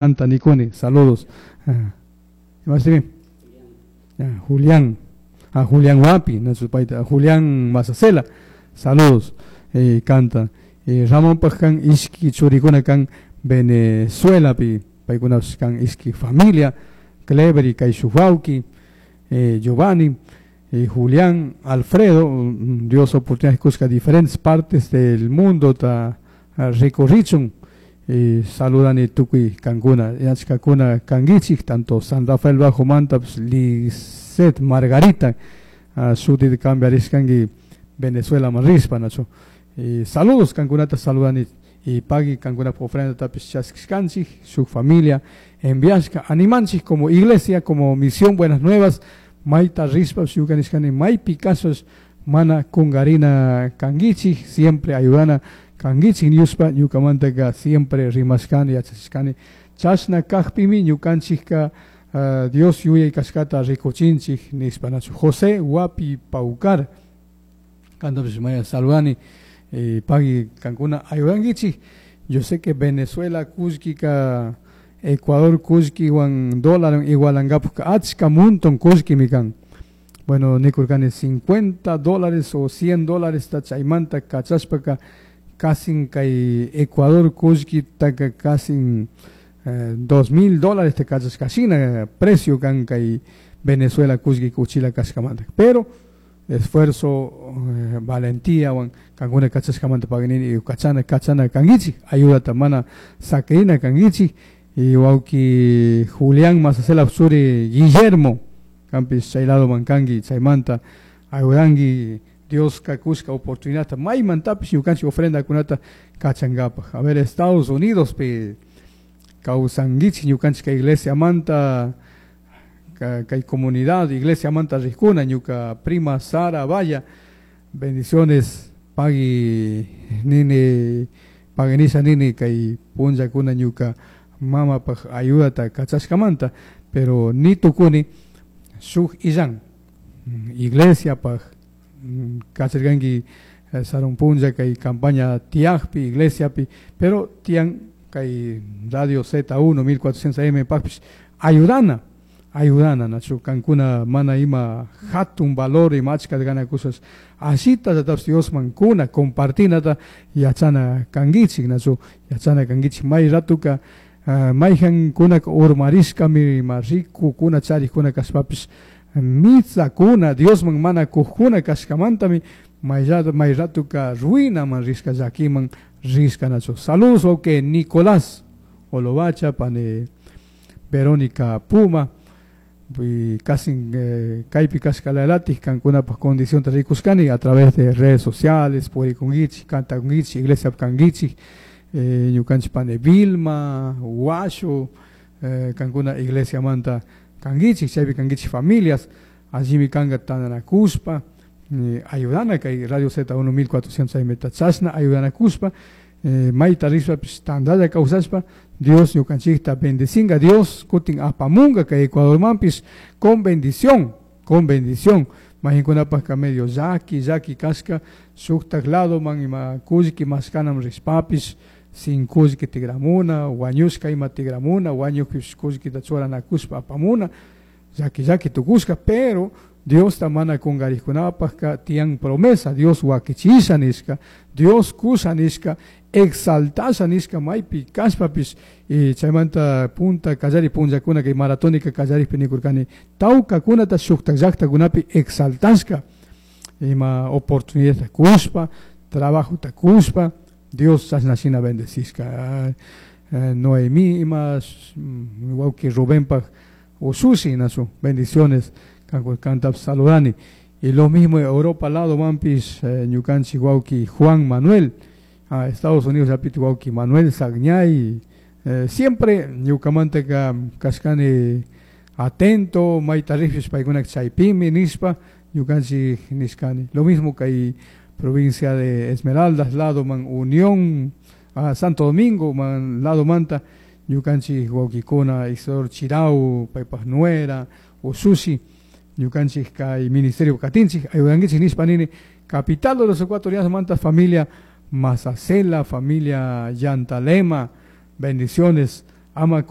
Canta nikuni, saludos. Imashtimi? Julián. A Julián Wapi, paita Julián Masacela, saludos. Canta. Ramonpaj kan ishki churikuna kan Venezuelapi, paykunapish kan ishki familia, Clever y kay shuk wawki, Giovanni, Julián, Alfredo, Dios oportunidad kushka diferentes partes del mundo ta rikurrichun. Saludani tukuy kankuna, yachkakuna kankichik, tanto San Rafael Bajo manta, pues, Lisset Margarita, shutit cambiarishkanki Venezuela rispa, nachu. Saludos kankunata saludani y pagui kankuna ofrenda tapish chaskishkanchik, su familia enviashka, animanchik como iglesia, como misión Buenas Nuevas, mayta rispa, shukanishkani, maypi casos mana kungarina kankichik, siempre ayudana kankichik ñushpa ñukamantaka siempre rimashkani, yachachishkani, chashna kajpimi ñukanchikka Dios yuyay kashkata rikuchinchik nishpa, nachu. José Wapi Paucar, kantapish maya saludani, pagui kankuna ayudankichik. Yo sé que Venezuela kullkika, Ecuador kullkiwan dólar igualankapuka achka montón kullkimi kan. Bueno, nikurkani $50 o $100 ta chaymanta kachashpaka casi kay Ecuador kullkitaka casi $2,000 te kachashkashina precio kan kay Venezuela kullki kuchila kashkamanta. Pero esfuerzo, valentía, wan kankuna kachashkamanta paganini y kachana kachana kankichik, ayudata mana sakrina kankichik. Y wawki Julián Masacela Suri Guillermo kampis chay lado mankanki chaymanta ayudanki Dios kakushka oportunidad maymantapish ñukanchik ofrenda kunata kachankapaj. A ver, Estados Unidos pi kawsankichik ñukanchik kay iglesia manta kay comunidad iglesia manta rijkuna ñuka prima Sara Vaya, bendiciones pagui nini paguinisha nini kay punllakuna ñuka mamapaj ayudata kachashkamanta, pero ni tukuni shuk illan iglesia paj kacharkanki sarun punlla kay campaña tiajpi iglesiapi, pero tian kay Radio Z1 1400 AM pajpish ayudana, ayudana nachu kankuna mana ima hatun valor ima achka gana cosas asita yatapis Diosman kuna compartinata yachana kankichik nachu yachana kankichik may ratuka mayjan kunaka urmarishkami ima riku kuna charikuna kashpapish mitsakuna Diosman mana kujkuna kashkamantami may ratuka ruinaman rishka llakiman rishka nachu. Saludos wawqi Nicolás Olovacha pane Verónica Puma y casi kaypi kashkalalatik kankunapaj condición rikushkani a través de redes sociales, purikunkichik, kantakunkichik, iglesia kankichik, ñukanchik pane Vilma, Washo, kankuna iglesia manta kankichik, chaypi kankichik familias, allimi kanka tantanakushpa, ayudana kay Radio Z1 1400 AM chashna ayudanakushpa, mayta rishpapish tantalla kawsashpa Dios ñukanchikta bendecinga, Dios kutin apamunga kay Ecuadormanpish con bendición, con bendición. Mahinkunapajka medio llaki, llaki kashka, shuktak ladoman ima kullki mashkanam rishpapish, sin kullki tigramuna, wañushka ima tigramuna, wañukpish kullkita churanakushpa apamuna, llaki llaki tukushka, pero Dios ta mana kungarikkunapajka tiyan promesa, Dios wakichisha nishka, Dios kusha nishka, exaltasha nishka maypi kashpapish, y chaymanta punta kallari punllakuna kay maratónica kallarikpi nikurkani tawkakunata shuktak llaktakunapi exaltashka, ima oportunidadta kushpa, trabajota kushpa, Dios chashna shina bendecishka. Noemí ima wawki Rubenpaj usushi nachu, bendiciones kantap saludani. Y lo mismo Europa lado mampis ñukanchik wawki Juan Manuel, a Estados Unidos yapiti wawki Manuel Sagñay, siempre ñukamantaka kashkani atento mayta rishpish paykuna chaypimi nishpa ñukanchik nishkani. Lo mismo kay provincia de Esmeraldas lado man Unión, a Santo Domingo man lado manta ñukanchik wawkikuna Isidoro Chirau paypaj nuera usushi ñukanchik kay ministerio katinchik ayudankichik nishpa nini capital de los ecuatorianos manta familia Masacela, familia Yantalema, bendiciones. Ama.